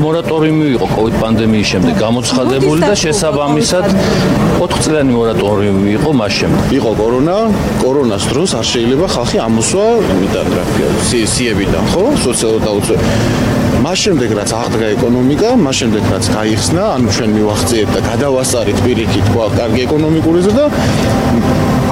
მორატორიუმი იყო COVID პანდემიის შემდეგ გამოცხადებული და შესაბამისად 4 წლიანი მორატორიუმი იყო მას შემდეგ. იყო კორონას დროს არ შეიძლება ხალხი ამოსვა იმიდან რა სიებიდან, ხო? სოციალურ დაუცველ. მას შემდეგ რაც აღდგა ეკონომიკა, მას შემდეგ რაც გაიხსნა, ანუ ჩვენ მივახციეთ და გადავასწარით პირიქით კარგი ეკონომიკური ზრდა,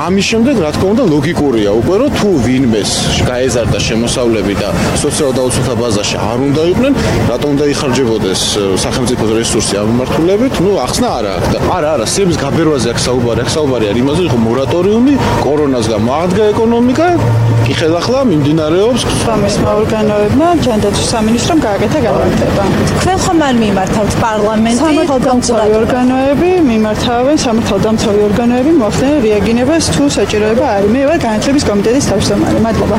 ამის შემდეგ რა თქმა უნდა ლოგიკურია უკვე რომ თუ ვინმეს გაეზარდა შემოსავლები და სოციალურ დაუცველთა ბაზაში არ უნდა იყვნენ, რატომ უნდა იხარჯებოდეს სახელმწიფოს რესურსი ამ მიმართულებით? ნუ ახსნა არა აქ და არა, სიების გაბერვაზე აქ საუბარი არის იმაზე, რომ მორატორიუმი კორონას გამო აღდგა ეკონომიკა, კი ხელახლა მიმდინარეობს სამეცნიერო ორგანოებმა ჯანდაცვის სამინისტრომ გააკეთა განმარტება. თქვენ ხომ არ მიმართავთ პარლამენტი? სამართალდამცავი ორგანოები მოახდენენ რეაგირებას თუ საჭიროება არის. მე ვარ განათლების კომიტეტის თავმჯდომარე. მადლობა.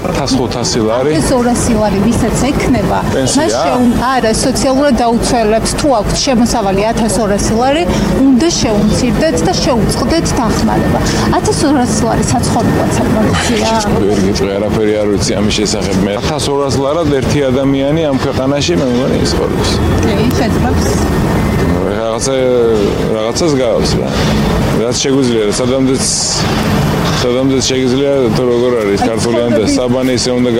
500 ლარი. 200 ლარი ვისაც ექნება. არა, სოციალურად დაუცველებს თუ აქვთ შემოსავალი 1200 ლარი, უნდა შეუმცირდეთ და შეუწყდეთ დახმარება. 1200 ლარი საცხოვრებლად საკმარისია. ვერ გიწყე არაფერი არ ვიცი ამის შესახებ. მე 1200 ლარად ერთი ადამიანი ამ ქვეყანაში მე მგონი ისწორებს. შეძლებს. რაღაცას გავს რა. რაც შეგვიძლია, სადამდეც შეიძლება თუ როგორ არის ქართულიან და საბანი ისე უნდა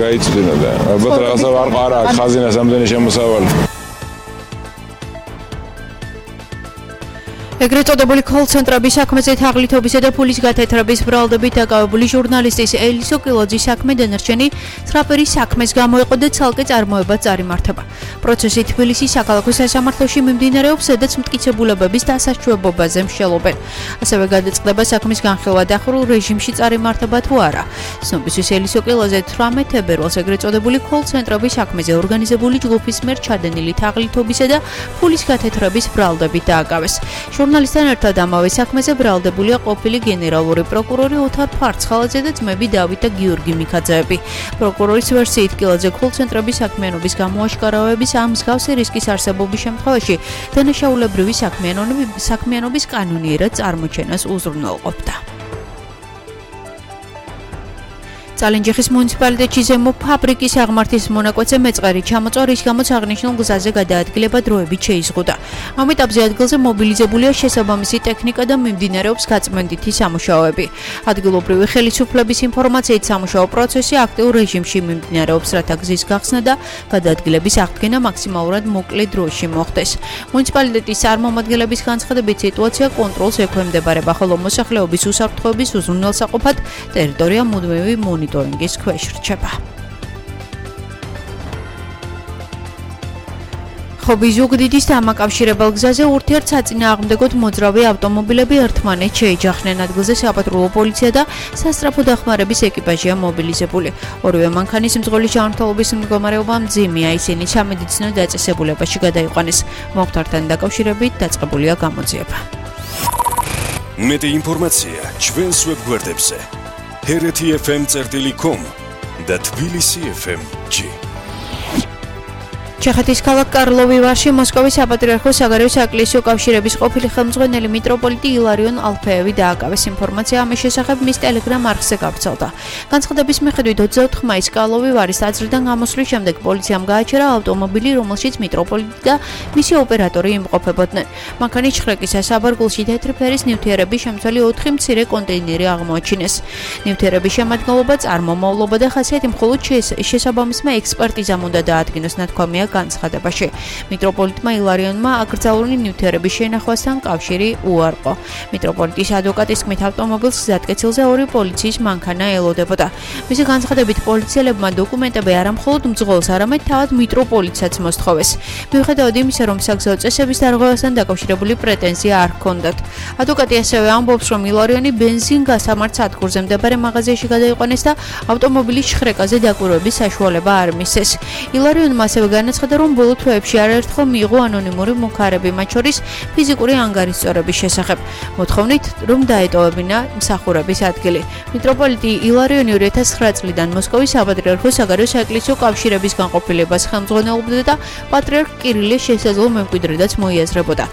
გაიწვდინო და ალბათ რაღაცა არ აქვს ხაზინას ამდენი შემოსავალი. ეგრეთ წოდებული კოლ-ცენტრების საქმეზე თაღლითობისა და ფულის გათეთრების ბრალდებით დაკავებული ჟურნალისტის ელისო კილოძის საქმე დანარჩენი ცხრაპერის საქმეს გამოეყო და ცალკე წარმოებაც წარიმართება. პროცესი თბილისის საქალაქო სასამართლოში მიმდინარეობს, სადაც მტკიცებულებების დასაშვებობაზე მსჯელობენ. ასევე გადაწყდება საქმის განხილვა დახურულ რეჟიმში წარიმართება თუ არა. ცნობისთვის ელისო კილოძე 18 თებერვალს ეგრეთ წოდებული კოლ-ცენტრების საქმეზე ორგანიზებული ჯგუფის მიერ ჩადენილი თაღლითობისა და ფულის გათეთრების ბრალდებით დააკავეს. ჟურნალისტთან ერთად ამავე საქმეზე ბრალდებულია ყოფილი გენერალური პროკურორი ოთარ ფარცხალაძე და ძმები დავით და გიორგი მიქაძეები. პროკურორის ვერსიით კილოძე კოლ-ცენტრების საქმიანობის გამოაშკარავების ამ მსგავსი რისკის არსებობის შემთხვევაში დანაშაულებრივი საქმიანობის კანონიერად წარმოჩენას უზრუნველყოფდა. წალენჯიხის მუნიციპალიტეტში ზემო ფაბრიკის აღმართის მონაკვეთზე მეწყერი ჩამოწვა, რის გამოც აღნიშნულ გზაზე გადაადგილება დროებით შეიზღუდა. ამ ეტაპზე ადგილზე მობილიზებულია შესაბამისი ტექნიკა და მიმდინარეობს გაწმენდითი სამუშაოები. ადგილობრივი ხელისუფლების ინფორმაციით სამუშაო პროცესი აქტიურ რეჟიმში მიმდინარეობს, რათა გზის გახსნა და გადაადგილების აღდგენა მაქსიმალურად მოკლე დროში მოხდეს. მუნიციპალიტეტის წარმომადგენლების განცხადებით სიტუაცია კონტროლს ექვემდებარება, ხოლო მოსახლეობის უსაფრთხოების უზრუნველსაყოფად ტერიტორია მუდმივი მონიტორინგის ქვეშ რჩება. ხობის ზუგდიდის დამაკავშირებელ გზაზე ურთიერთსაწინააღმდეგოდ მოძრავი ავტომობილები ერთმანეთს შეიჯახნენ. ადგილზე საპატრულო პოლიცია და სასწრაფო დახმარების ეკიპაჟია მობილიზებული. ორივე მანქანის მძღოლის ჯანმრთელობის მდგომარეობა მძიმეა, ისინი სამედიცინო დაწესებულებაში გადაიყვანეს. მომხდართან დაკავშირებით დაწყებულია გამოძიება. მეტი ინფორმაცია ჩვენს ვებგვერდებზე hereti.fm.com და tbilisi.fm.g. ჩეხეთის ქალაქ კარლოვი ვარში მოსკოვის საპატრიარქოს საგარეო საეკლესიო კავშირების ყოფილი ხელმძღვანელი მიტროპოლიტი ილარიონ ალფეევი დააკავეს. ინფორმაცია ამის შესახებ მის ტელეგრამ არხზე გავრცელდა. განცხადების მიხედვით 24 მაისს კარლოვი ვარის ტაძრიდან გამოსვლის შემდეგ პოლიციამ გააჩერა ავტომობილი, რომელშიც მიტროპოლიტი და მისი ოპერატორი იმყოფებოდნენ. მანქანის შხრეკისას საბარგულში თეთრი ფერის ნივთიერების შემცველი 4 მცირე კონტეინერი აღმოაჩინეს. ნივთიერების შემადგენლობა წარმომავლობა და ხასიათი მხოლოდ შესაბამისმა ექსპერტიზამ უნდა დაადგინოს, ნათქვამია განცხადებაში. მიტროპოლიტმა ილარიონმა აკრძალული ნივთიერების შენახვასთან კავშირი უარყო. მიტროპოლიტის ადვოკატის თქმით, ავტომობილს გზატკეცილზე 2 პოლიციის მანქანა ელოდებოდა. მისი განცხადებით, პოლიციელებმა დოკუმენტები არა მხოლოდ მძღოლს, არამედ თავად მიტროპოლიტსაც მოსთხოვეს. მიუხედავად იმისა, რომ საგზაო წესების დარღვევასთან დაკავშირებული პრეტენზია არ ჰქონდათ. ადვოკატი ასევე ამბობს, რომ ილარიონი ბენზინ-გასამართ სადგურზე მდებარე მაღაზიაში გადაიყვანეს და ავტომობილის შხრეკაზე დაკვირვების საშუალება არ მისცეს. ილარიონმა ასევე განაცხადა, რომ ბოლო თვეებში არაერთხელ მიიღო ანონიმური მუქარები, მათ შორის ფიზიკური ანგარიშწორების შესახებ, მოთხოვნით, რომ დაეტოვებინა მსახურების ადგილი. მიტროპოლიტი ილარიონი 2009 წლიდან მოსკოვის საპატრიარქოს საგარეო საეკლესიო კავშირების განყოფილებას ხელმძღვანელობდა და პატრიარქ კირილეს შესაძლო მემკვიდრედაც მოიაზრებოდა.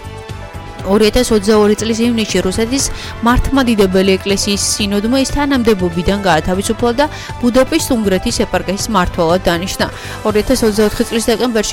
2022 წლის ივნისში რუსეთის მართლმადიდებელი ეკლესიის სინოდმა ის თანამდებობიდან გაათავისუფლა და ბუდაპეშტ-უნგრეთის ეპარქიის მმართველად დანიშნა. 2024 წლის დეკემბერში